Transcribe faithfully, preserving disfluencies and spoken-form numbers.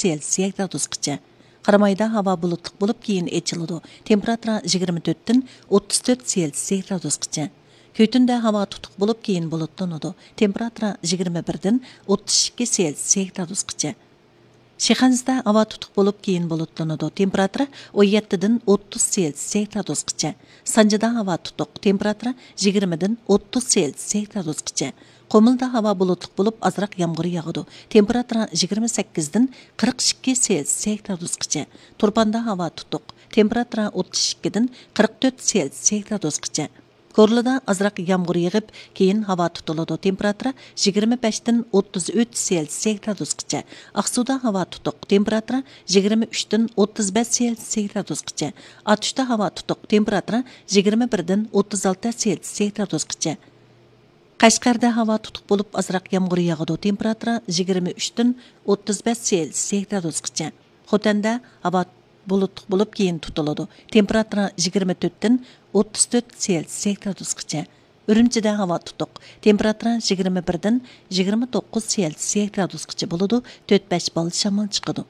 سېلسىيە گرادۇسقىچە. قارامايدا ھاۋا بۇلۇتلۇق بولۇپ، كېيىن ئېچىلىدۇ. تېمپېراتۇرا يىگىرمە تۆتتىن ئوتتۇز تۆت سېلسىيە گرادۇسقىچە. كۈتۈندە ھاۋا تۇتۇق بولۇپ، كېيىن بۇلۇتلىنىدۇ. تېمپېراتۇرا يىگىرمە بىردىن ئوتتۇز ئىككى سېلسىيە گرادۇسقىچە. شىخەنزىدە ھاۋا تۇتۇق بولۇپ، كېيىن بۇلۇتلىنىدۇ. تېمپېراتۇرا ئون يەتتىدىن ئوتتۇز سېلسىيە گرادۇسقىچە. سانجىدا ھاۋا تۇتۇق. تېمپېراتۇرا يىگىرمىدىن ئوتتۇز سېلسىيە گرادۇسقىچە. قۇمۇلدا ھاۋا بۇلۇتلۇق بولۇپ، ئازراق يامغۇر ياغىدۇ. تېمپېراتۇرا يىگىرمە سەككىزدىن قىرىق ئىككى سېلسىيە گرادۇسقىچە. تۇرپاندا ھاۋا تۇتۇق. تېمپېراتۇرا ئوتتۇز ئىككىدىن قىرىق تۆت سېلسىيە گرادۇسقىچە. كورلىدا ئازراق يامغۇر يېغىپ، كېيىن ھاۋا تۇتۇلىدۇ. تېمپېراتۇرا يىگىرمە بەشتىن ئوتتۇز ئۈچ سېلسىيە گرادۇسقىچە. ئاقسۇدا ھاۋا تۇتۇق. تېمپېراتۇرا يىگىرمە ئۈچتىن ئوتتۇز بەش سېلسىيە گرادۇسقىچە. ئاتۇشتا ھاۋا تۇتۇق. تېمپېراتۇرا يىگىرمە بىردىن ئوتتۇز ئالتە سېلسىيە گرادۇسقىچە. قەشقەردە ھاۋا تۇتۇق بولۇپ، ئازراق يامغۇر ياغىدۇ. تېمپېراتۇرا يىگىرمە ئۈچتىن ئوتتۇز بەش سېلسىيە گرادۇسقىچە. خوتەندە ھاۋا بۇلۇتلۇق بولۇپ، كېيىن تۇتۇلىدۇ. تېمپېراتۇرا يىگىرمە تۆتتىن ئوتتۇز تۆت سېلسىيە گرادۇسقىچە. ئۈرۈمچىدە ھاۋا تۇتۇق. تېمپېراتۇرا يىگىرمە بىردىن يىگىرمە توققۇز سېلسىيە گرادۇسقىچە بولىدۇ. تۆت بەش بال شامال چىقىدۇ.